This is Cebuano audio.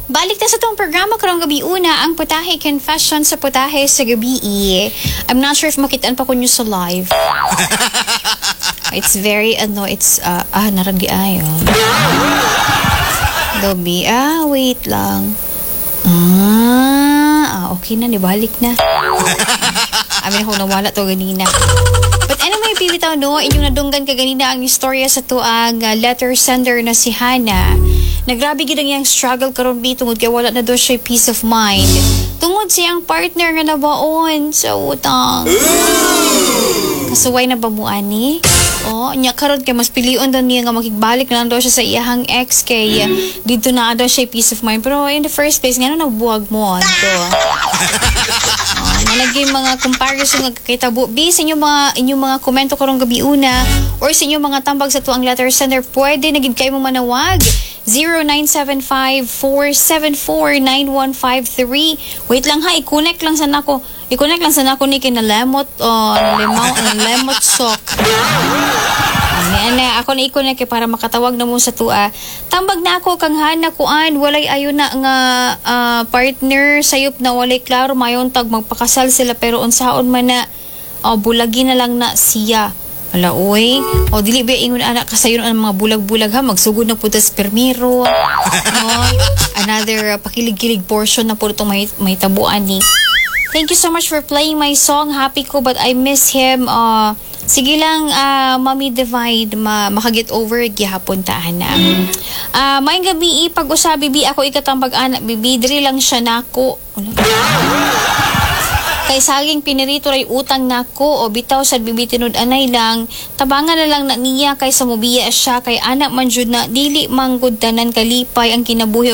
Balik na sa atong programa karong gabi una, ang Putahe Confession sa Putahe sa Gabi. I'm not sure if makitaan pa ko nyo sa live. It's very, ano, it's, naragi ayo. Dobi, wait lang. Okay na, nibalik na. Amin ako nawala to ganina. But anyway, bibitaw no, inyong nadunggan kaganina ang istorya sa tuang letter sender na si Hannah. Nagrabe gid ang iyang struggle karon bi tungod kay wala na daw siya peace of mind. Tungod siyang partner nga nabaon sa utang. Kasuway na ba mo ani? Oh, nya karon kay mas pilion daw niya nga makigbalik na lang daw siya sa iyahang ex kay dito na daw siya peace of mind. Pero in the first place, ngano nagbuwag mo anto? Oh, nalagay mga comparison nga kakitabo. Bi, sa inyong mga komento karong gabi una or sa inyong mga tambag sa tuang letter sender, pwede na gid kayo mo manawag. 0975-474-9153. Wait lang ha, i-connect lang sa nako. I-connect lang sa nako ni kinalemot o limaw, lemot sok. Ani ana ako na i-connect kay para makatawag na mo sa tua. Tambag na ako kang Hana kuan, walay ayo na nga partner, sayop na walay klaro, mayon tag magpakasal sila pero unsaon man na, oh, bulagi na lang na siya. Ala oy, o dili ba ingon anak kasayon ang mga bulag-bulag ha, magsugod na pud tas permiro. No? Another pakilig-kilig portion na pud itong may tabuan ni. Thank you so much for playing my song. Happy ko but I miss him. Sige lang, Mami Divide, makaget over gihapon ta na. May gabi pag-usabi bi ako ikatambag anak bibi diri lang siya nako. Wala. Kay saging pinirito ray utang nako o bitaw sa bibi tinud anay lang tabangan na lang na niya kaysa mubiya siya kay anak man jud na dili manggod tanan kalipay ang kinabuhi.